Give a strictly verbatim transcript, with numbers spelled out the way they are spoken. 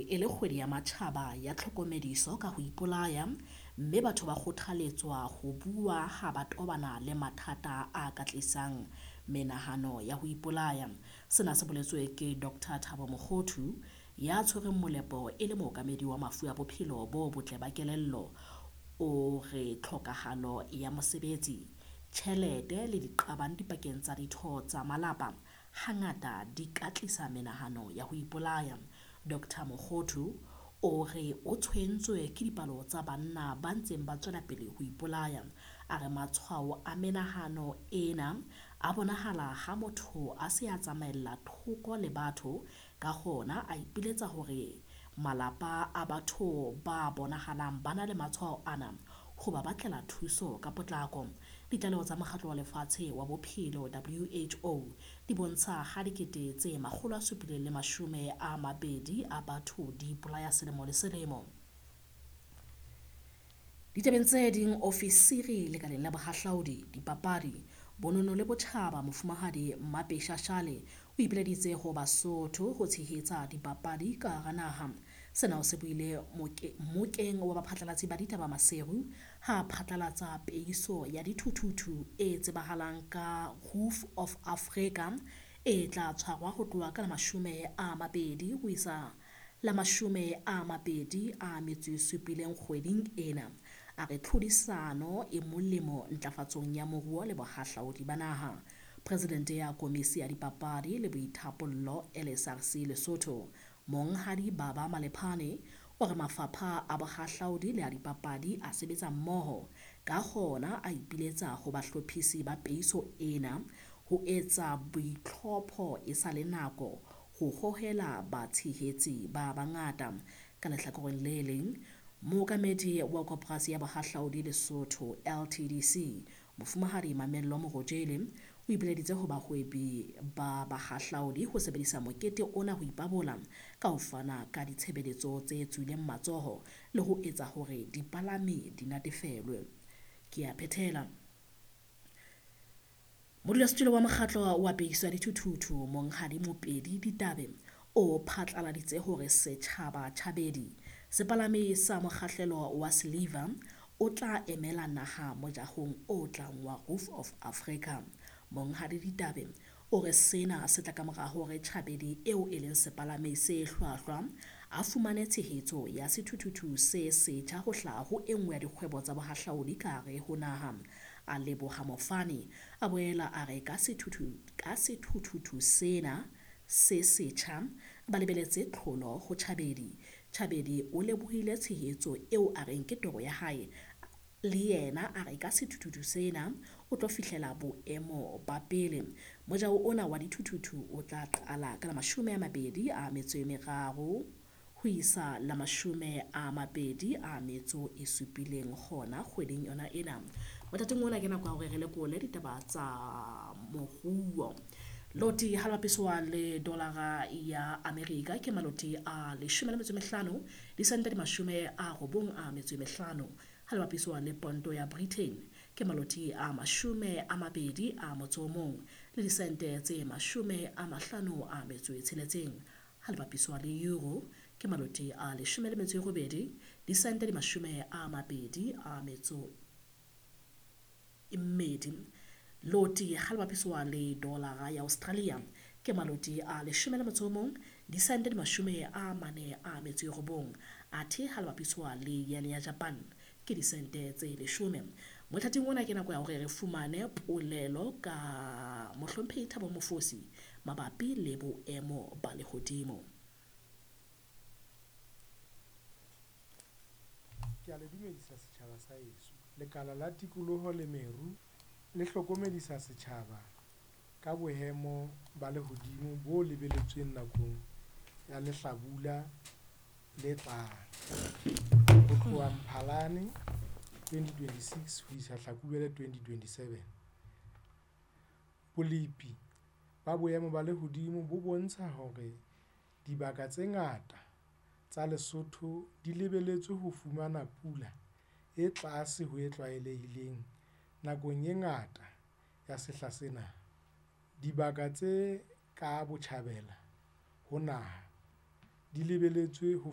e le kgwedi ya matjhaba ya tlhokomediso ka ho ipolaya, mme batho ba kgothaletswa ho bua ha ba tobana le mathata a ka tlisang menahano ya ho ipolaya. Sena se boletswe ke Doctor Thabo Mokgothu ya tshwereng molepo e le mookamedi wa mafu a bophelo bo botle ba kelello. O re tlhokahalo ya mosebetsi, tjhelete le diqabang dipakeng tsa ditho tsa malapa hangata di ka tlisa menahano ya ho ipolaya. Doctor Mokgothu o re o tshwentswe ke dipalo tsa banna ba ntseng ba tswela pele ho ipolaya. A re matshwao a menahano ena a bonahala ha motho a se a tsamaella thoko le batho, ka hona a ipiletsa hore malapa a batho ba bonahalang ba na le matshwao ana ho ba batlela thuso ka potlako. Ditlaleho tsa Mokgatlo wa Lefatshe wa Bophelo W H O di bontsha ha dikete tse makgolo a supileng le mashome a mabedi a batho di ipolaya selemo le selemo. Ditabeng tse ding, ofisiri lekaleng la bohahlaudi, dipapadi, bonono le botjhaba Mofumahadi Mmape Shashale o ipileditse ho Basotho ho tshehetsa dipapadi ka hara naha. Sena o se buile mmokeng wa baphatlalatsi ba ditaba Maseru ha phatlalatsa peiso ya dithuthuthu e tsebahalang ka Roof of Africa e tla tshwarwa ho tloha ka la mashome a mabedi ho isa la mashome a mabedi a metso e supileng kgweding ena. A re tlhodisano e molemo ntlafatsong ya moruo le bohahlaudi ba naha. Presidente ya Komisi ya Dipapadi le Boithapollo L S R C Lesotho, Monghadi Baba Malephane, o re mafapha a bohahlaudi le a dipapadi a sebetsa mmoho, ka hona a ipiletsa ho bahlophisi ba peiso ena ho etsa boitlhopho e sa le nako ho hohela batshehetsi ba bangata. Ka lehlakoreng le leng, mookamedi wa Koporasi ya Bohahlaudi Lesotho L T D C, Mofumahadi Mamello Morojele, o ipileditse ho bahwebi ba bahahlaudi ho sebedisa mokete ona ho ipabola ka ho fana ka ditshebeletso tse tswileng matsoho le ho etsa hore dipalami di natefelwe. Ke a phethela. Modulasetulo wa mokgatlo wa peiso ya dithuthuthu Monghadi Mopedi Ditabe o phatlaladitse hore setjhaba Tjhabedi sepalami sa mokgahlelo wa Silver o tla emela naha mojahong o tlang wa Roof of Africa. Monghadi Ditabe o re sena se tla ka mora hore Tjhabedi eo e leng sepalami se hlwahlwa a fumane tshehetso ya sethuthuthu se setjha ho hlaha ho e nngwe ya dikgwebo tsa bohahlaudi ka hare ho naha. A leboha mofani, a boela a re ka sethuthu, ka sethuthuthu sena se setjha ba lebeletse tlholo ho Tjhabedi. Tjhabedi o lebohile tshehetso eo a reng ke toro ya hae, le yena a re ka sethuthuthu sena o tlo fihlela boemo ba pele. Mojao ona wa dithuthuthu o tla qala ka la mashome a mabedi a metso e meraro ho isa la mashome a mabedi a metso e supileng hona kgweding yona ena. Mothating ona ke nako ya hore re lekole ditaba tsa moruo. Loti ha le bapiswa le dolara ya Amerika ke maloti a leshome le metso e mehlano, disente di mashome a robong a metso e mehlano. Ha le bapiswa le ponto ya Britain ke maloti a mashome a mabedi a motso o mong le disente tse mashome a mahlano a metso e tsheletseng. Ha le bapiswa le euro ke maloti a leshome le metso e robedi, disente di mashome a mabedi a metso e mmedi. Loti ha le bapiswa le dolara ya Australia ke maloti a leshome le motso o mong, disente di mashome a mane a metso e robong. Athe ha le bapiswa le yen ya Japan ke disente tse leshome. Mothating ona ke nako ya hore re fumane polelo ka Mohlomphehi Thabo Mofosi mabapi le boemo ba lehodimo. Ke a le dumedisa setjhaba sa heso. Lekala la tikoloho le meru le hlokomedisa setjhaba ka boemo ba lehodimo bo lebeletsweng nakong ya lehlabula le tlang. Ho tloha Mphalane twenty twenty-six ho isa Hlakubele twenty twenty-seven. Bolepi ba boemo ba lehodimo bo bontsha hore dibaka tse ngata tsa Lesotho di lebeletswe ho fumana pula e tlase ho e tlwaelehileng nakong e ngata ya sehla sena. Dibaka tse ka botjhabela ho naha di lebeletswe ho